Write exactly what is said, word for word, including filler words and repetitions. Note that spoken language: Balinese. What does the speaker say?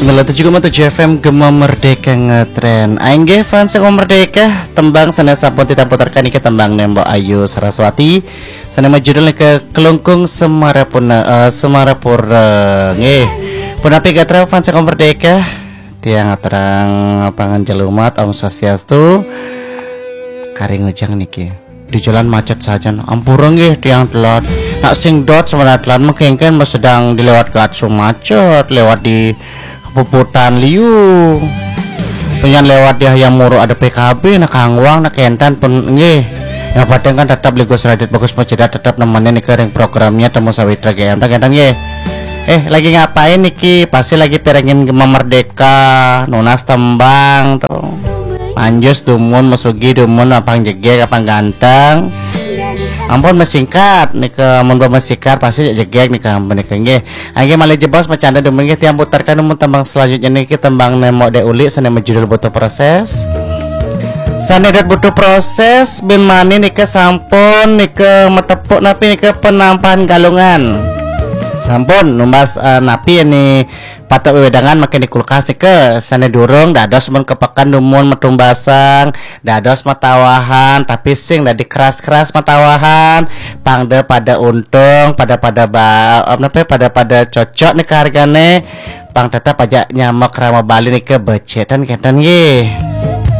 Sembilan tujuh koma tujuh F M Gema Merdeka ngetren. Inggih fans Gema Merdeka, tembang sané sampun titiang puterkan niki tembang Mbok Ayu Saraswati. Sané majudul niki Klungkung Semarapuna, eh, Semarapura. Nggih. Punapi gatra fans Gema Merdeka? Tiang aturang panganjali umat, Om Swastiastu. Kari ngujang niki. Di jalan macet saja. Ampura nggih tiang telat. Nak sing dot sebenarnya telat mengkengken sedang dilewat Gatsu macet, lewat di Puputan Liu. Penyan lewat di Hayam Muruk ada P K B, nak kangwang, nak kentan pun nggih. Yang penting kan tetap Ligus Radit Bagus Macedat tetap nemenin niki ring programnya Temu Sawitra G M. Tak kentan nggih. Eh, lagi ngapain niki? Pasti lagi pirengin Gema Merdeka, nunas tembang tuh. Manjus dumun, mesugi dumun, apang jegeg, apang ganteng. Ampun mesingkat nika, mun mesingkat pasti jegeg nika, ampun nika nggih. Nggih malih jebos macanda dumun nggih, tiang puterkan dumun tembang selanjutnya niki, tembang Mbok Dek Uli sané majudul Butuh Proses. Sané dot butuh proses bin mani nika sampun nika matepuk napi nika Penampahan Galungan. Sampun numbas, eh, napi ini patut wewedangan makin di kulkas nika, sané durung dados mun ka peken dumun matumbasan, dados matawahan, tapi sing dadi keras-keras matawahan, pang da pada untung, pada-pada ba-, apa napa, pada-pada cocok nika hargané, pang tetep aja nyama krama Bali nika becik ten kenten nggih.